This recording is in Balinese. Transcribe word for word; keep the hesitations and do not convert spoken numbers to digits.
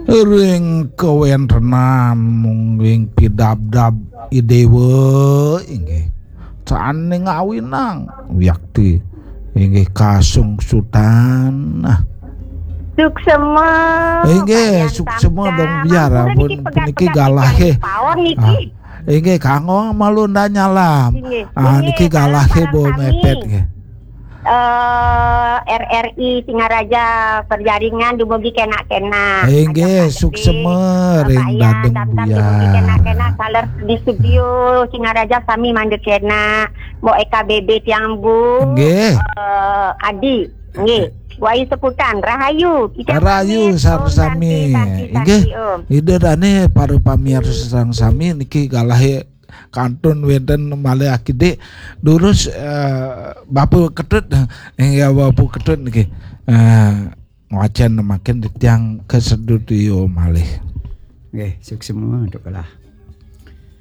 Ring kawéntenan mungguing pidabdab Idéwa inggih. Sané ngawinang wiakti inggih kasungsutan. Nah. Suksema. Inggih, suksema dong biar ampun niki galahé. Pawon niki. Ah, inggih kanggo malu ndak nyalam. Inggih. Ah, niki galahé bo mepet nggih. Eh, R R I Singaraja perjaringan dumugi kena-kena. Inggih, suksema ring dadeng buyar. Kena-kena saler di studio Singaraja sami mangda kena. Mbok E K B B tiang Bu. Inggih. Eh, Adi. Nggih. Wai seputan rahayu. Rahayu sareng sami. Inggih. Ida dané para pamiarsa sareng sami niki galahé kantun wénten malih akidik durus eh, Bapa Ketut, inggih Bapa Ketut niki. Eh, ngwacén mangkin tiang kasedutia malih. Nggih, suksema Dok Kelah.